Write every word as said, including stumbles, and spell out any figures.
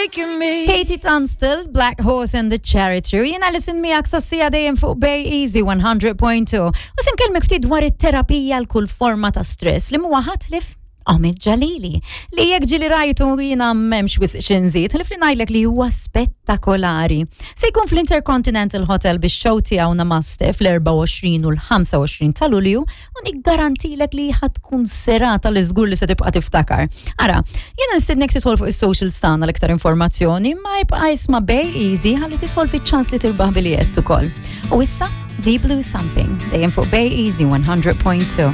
taking me. Katie Tunstall, Black Horse and the Charity. Jiena Alison miegħek sas-siegħa dejjem fuq Bay Easy one hundred point two. U se nkellmek ftit dwar it-terapija l kull forma ta' stress li mhuwa ħadd ħlief Omid Jalili, li jekk ġieli rajtu, jiena m'hemmx wisq x'inżid, ħlief li ngħidlek li huwa spettakolari. Se jkun fl-Intercontinental Hotel biex show tiegħu Namaste fl-erbgħa u għoxrin u l-ħamsa u għoxrin ta' Lulju u niggarantilek li ħa tkun serata li żgur li se tibqa' tiftakar. Ara, jiena nistednek tidħol fuq is-social tagħna l-iktar informazzjoni, ma jibqa' isma' Bay Easy ħalli tidħol fiċ-ċans li tirbaħ biljett ukoll. U issa, Deep Blue Something, dejjem fuq Bay Easy one hundred point two.